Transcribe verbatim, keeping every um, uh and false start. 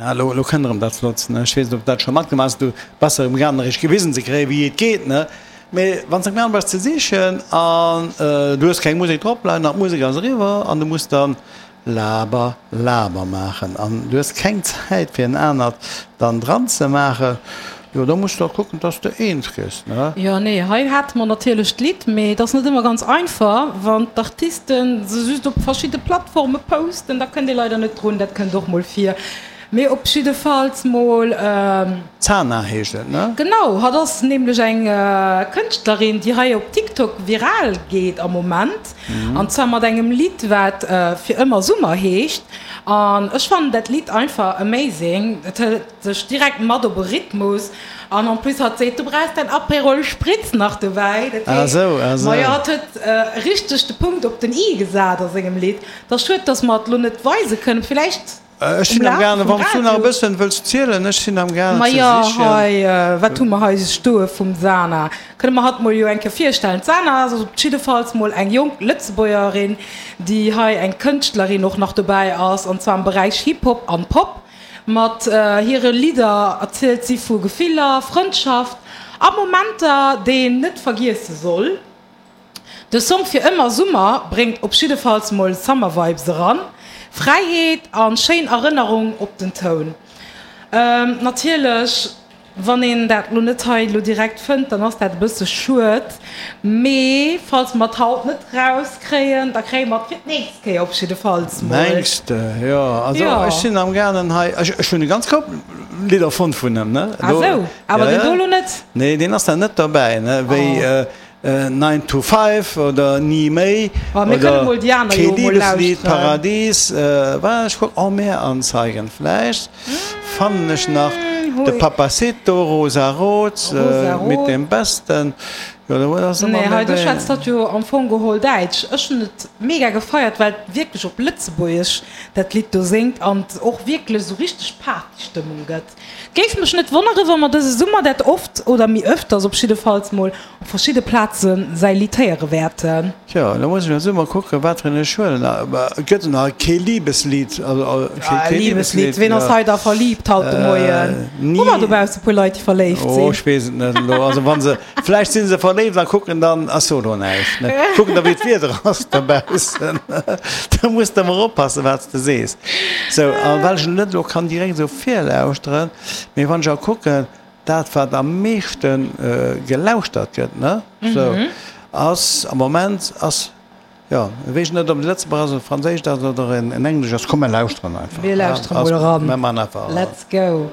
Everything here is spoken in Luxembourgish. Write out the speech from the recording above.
Na, elo, elo kënnt erëm dat Flottst, ne? Ech weess net, ob du dat scho matgemaach hues, du bass erëm gaangen, eréischt gewisen ze kréien, wéi et geet, ne? Mee wann s de amgaange bass ze sichen an du hues keng Musek drop leien an d'Musek ass eriwwer an du muss dann Laber, Laber maachen an du hues keng Zäit fir en anert dann dran ze maachen, jo da muss de och kucken, dass de eens gëss, ne? Jo, nee, hei hate mer natierlech d'Lidd, mee et ass net ëmmer ganz einfach, wann d'Artisten se just op verschidde Plattforme posten, da kënnt ee leider net drun, dat kënnt och mol vir. Mee op jiddefalls mol. Zana heescht et, ne? Genau, hatt ass nämlech eng Kënschtlerin, déi hei op TikTok viral geet am Moment. An zwar mat engem Lidd, wat Fir ëmmer Summer heescht. An ech fannen dat Lidd einfach amazing. Et hëlt dech direkt mat op e Rhythmus. An en plus hatt seet, du brauchs däin Aperol Spritz nach dobäi. Dat heescht, majo, hatt huet richteg de Punkt op den i gesat a sengem Lidd. Et ass schued, dass mer et lo net weise kënnen. Villäicht. Ech sinn am gaangen, wann s du nach e bëssen wëlls zielen, ech sinn am gaangen ze Majo, sichen. hei, wat hu mer hei stoe vum Sana? Kënne mer hatt mol jo eng Kéier virstellen. D'Sana ass op jiddefalls mol eng jonk Lëtzebuergerin, déi hei eng Kënschtlerin och nach dobäi ass, an zwar am Beräich Hip-Hop an Pop. Mat hire Lidder erzielt si vu Gefiller, Frëndschaft a Momenter, déi een net vergiesse soll. De Song Fir ëmmer Summer bréngt op jiddefalls mol Summer Vibes eran, Fräiheet an schéin Erënnerung op den Toun. Natierlech wann een dat lo net hei lo direkt fënnt, dann ass dat e bësse schued, mee falls mer et haut net raus kréien, da kréie mer et fir d'nächst Kéier op jiddefalls mol. Mengs de? Jo, also ech sinn am gaangen hei, ech hunn e ganz Koup Lidder fonnt vun em, ne? Ah sou, awer deen do lo net? Nee, deen ass nach net derbäi, ne, wéi Nine to Five oder Ni méi oder Kee Liebeslied, Paradies, wat ech kucken, Oh Meer anzeigen, vläicht fannen ech nach de Papacito, Rosa Rot, Mit dem Besten, jo do ass ëmmer Nee, hei méi do schwätzt hatt jo am Fong geholl Däitsch. Ech hunn et mega gefeiert, well et wierklech op Lëtzebuergesch dat Lidd do séngt an et och wierklech esou richteg Partystëmmung gëtt. Géif mech net wonneren, wa mer dëse Summer dat oft, oder méi öfters op jiddefalls mol, op verschidde Plaze säi Lidd héiere wäerten. Tjo, elo muss ech also mol kucken, wat fir en ech huelen. Et gëtt nach kee Liebeslied, also kee Liebeslied. Ween ass hei da verliibt haut de Moien? Hu mer dobausse puer Leit, déi verléift sinn? Oh, ech weess et net elo. Also wa se, vläicht si se verléift a kucken dann, ach so elo näischt, ne, kucken da wéi d'Wieder ass dobaussen. Da muss de emol oppassen, wat s de sees. Sou, a well ech net elo kann direkt esou virlauschteren, mee wann ech a kucken, dat wat am meeschte gelauschtert gëtt, ne, sou, ass am Moment ass, jo, weess net, ob et Lëtzebuerg ass oder Franséisch ass oder en Englesch ass. Komm mir lauschteren einfach. Mir lauschteren mol eran. Mir man einfach. Let's go.